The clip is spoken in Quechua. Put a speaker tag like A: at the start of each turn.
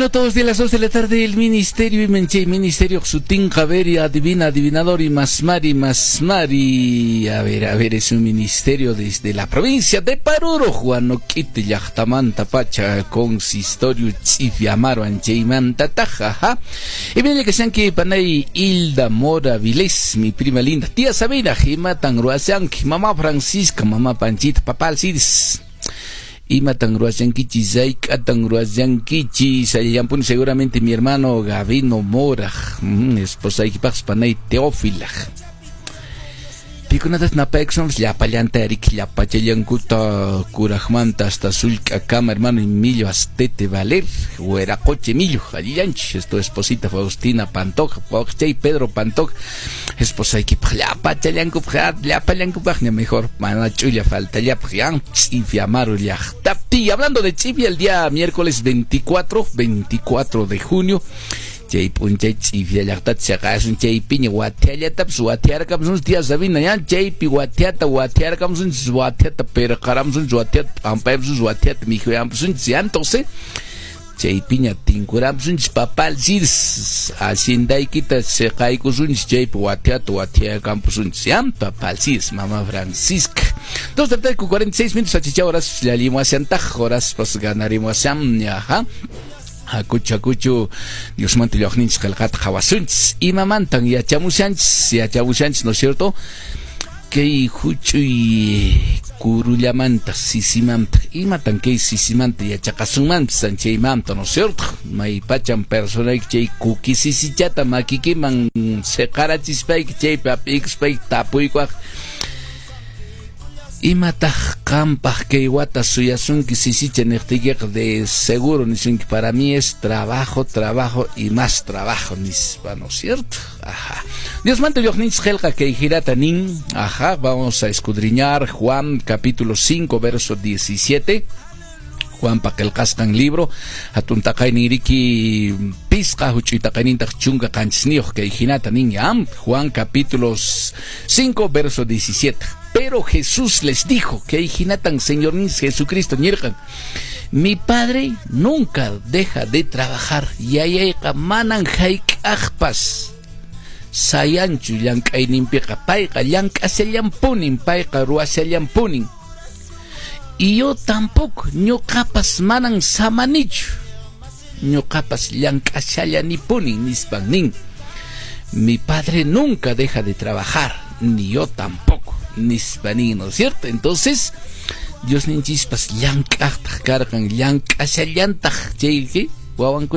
A: Todos de las 2 de la tarde, el ministerio y menche, ministerio sutinqa, ver y adivina, adivinador y masmari, masmari. A ver, es un ministerio desde la provincia de Paruro, Huanoquite, llaqtamanta pacha, consistorio Ch'ifiamaru, anchaymanta taja. Y viene que sean que panay Hilda Mora Vilés, mi prima linda, tía Sabina, Jimatan Ruasanki, mamá Francisca, mamá Panchita, papá Alcides. Imatan ruashankichis, hayk'atan ruashankichis, allampuni seguramente mi hermano Gabino Mora, esposaykipaqpas panay Teófila. Pikunatas napaykusunpas llapallanta riki llapachallankuta kurajmanta hasta sullk'akama hermano Emilio Astete Valer, Hueracoche Emilio, allillanchis, es tu esposita Faustina Pantoja, wawqichay Pedro Pantoja, esposaykipaq llapachallankupaq, llapallankupaqña mejor, mana ch'ulla faltallapaq, ya, Ch'ifiamaru llaqtapi. Hablando de Ch'ifia, el día miércoles 24 de junio, chay p'unchay Ch'ifia llaqtata chaqasun chaypiña wathiallatapas wathiarkamusunchis tía Sabina ya chaypi wathiata wathiarkamusunchis wathiata pirqaramusunchis wathiata p'ampaymusunchis wathiata mikhuyampusunchis ya entonces chaypiña tinkuramusunchis papá Alcides haciendaykita siqaykusunchis chaypi wathiata wathiakampusunchis ya papá Alcides mamá Francisca. 2 de la tarde con 46 minutos achicha horas llallimuashantaj horas pas ganarimuashan ajá. Hakuchu hakuchu Diosmanta lluqninchis qillqata qhawasunchis imamantan yachamushanchis ¿no es cierto? Kay huch'uy kurullamanta sisimanta imatan kay sisimanta yachaqasunmanpis chaymanta ¿no es cierto? Maypachan personayki chay kuki sisichata makikiman siqarachispayki chaypi hap'ikuspayki tapuykuaq imataq qampaq kay wata suyasunki sisicha niqtiykiqa de seguro nisunki para mí es trabajo, trabajo y más trabajo nispa, ¿no es cierto? Ajá. Diosmanta lluqninchis qillqa kay hirata nin, ajá, vamos a escudriñar Juan capítulo 5 verso 17. Juanpa qillqasqan libro hatun taqaynin riki pisqa huch'uy taqaynintaq chunka qanchisniyuq kay hinata nin ya Juan capítulo 5 verso 17. Pero Jesús les dijo que hinatan Señor Jesucristo ñirqan mi padre nunca deja de trabajar yayayqa manan hayk'aqpas sayanchu llank'ayninpiqa payqa llank'ashallanpunin payqa ruwashallanpunin y yo tampoco ñuqapas manan samanichu ñuqapas llank'ashallanipuni nispan nin mi padre nunca deja de trabajar ni yo tampoco nispa nin, ¿no es cierto? Entonces Dios ninchispas llank'aqtaq karqan llank'ashallantaq chayki wawankuna.